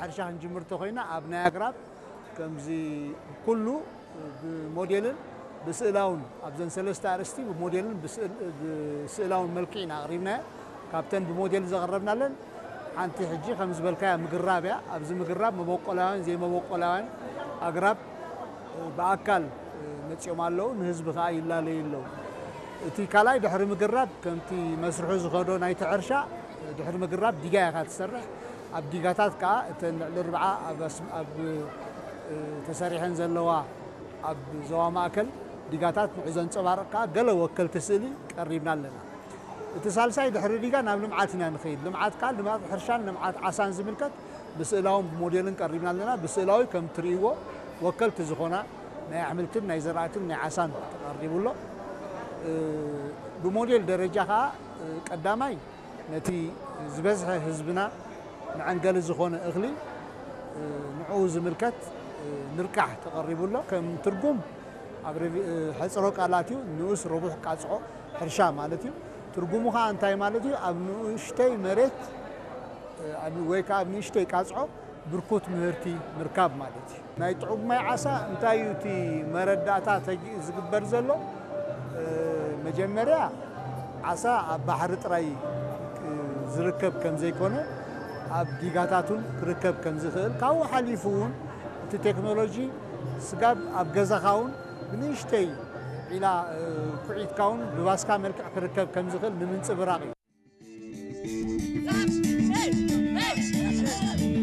ሕርሻ ክንጅምር እንተኾይና ኣብ ናይ ኣግራብ ከምዚ ኩሉ ብሞዴልን ብስእላውን ኣብዘን ሰለስተ ኣርእስቲ ብሞዴልን ብስእል- ብስእላውን መልክዕ ኢና ኣቕሪብናዮ። ካብተን ብሞዴል ዘቕረብናለን ሓንቲ ሕጂ ከም ዝበልካያ ምግራብ እያ። ኣብዚ ምግራብ መበቆላውያን ዘይመበቆላውያን ኣግራብ ብኣካል መፂኦም ኣለዉ፣ ንህዝቢ ከዓ ይላለዩ ኣለዉ። እቲ ካልኣይ ድሕሪ ምግራብ ከምቲ መስርሑ ዝኸዶ ናይቲ ሕርሻ ድሕሪ ምግራብ ዲጋ ኢኻ ትሰርሕ። ኣብ ዲጋታት ከዓ እተን ልዕሊ ርብዓ ኣብ ኣስ- ኣብ ተሰሪሐን ዘለዋ ኣብ ዞባ ማእከል ዲጋታት ንዑ ዘንፀባርቕ ከዓ ገለ ወከልቲ ስእሊ ቀሪብና ኣለና። እቲ ሳልሳይ ድሕሪ ዲጋ ናብ ልምዓት ኢና ንኸይድ። ልምዓት ከዓ ልምዓት ሕርሻን ልምዓት ዓሳን ዝምልከት ብስእላውን ብሞዴልን ቀሪብና ኣለና። ብስእላዊ ከም ትርእይዎ ወከልቲ ዝኾና ናይ ኣሕምልትን ናይ ዘራእትን ናይ ዓሳን ተቐሪቡ ኣሎ። ብሞዴል ደረጃ ከዓ ቀዳማይ ነቲ ዝበዝሐ ህዝብና መዐንገሊ ዝኾነ እኽሊ ንዕኡ ዝምልከት ንርቃሕ ተቐሪቡ ኣሎ። ከም ትርጉም ኣብ ሬቪ- ሕፅሮ ቃላት እዩ። ንኡስ ረቡሕ ቃፅዖ ሕርሻ ማለት እዩ። ትርጉሙ ከዓ እንታይ ማለት እዩ? ኣብ ንኡሽተይ መሬት ኣብ- ወይ ከዓ ኣብ ንእሽተይ ቃፅዖ ብርኩት ምህርቲ ምርካብ ማለት እዩ። ናይ ጥዑም ማይ ዓሳ እንታይ እዩ እቲ መረዳእታ ተጊ- ዝግበር ዘሎ? መጀመርያ ዓሳ ኣብ ባሕሪ ጥራይ ዝርከብ ከም ዘይኮነ ኣብ ዲጋታት እውን ክርከብ ከም ዝኽእል ካብኡ ሓሊፉ እውን እቲ ቴክኖሎጂ ስጋብ ኣብ ገዛኻ እውን ብንእሽተይ ዒላ ኩዒትካ እውን ብባስካ መልክዕ ክርከብ ከም ዝኽእል ንምንፅብራቕ እዩ።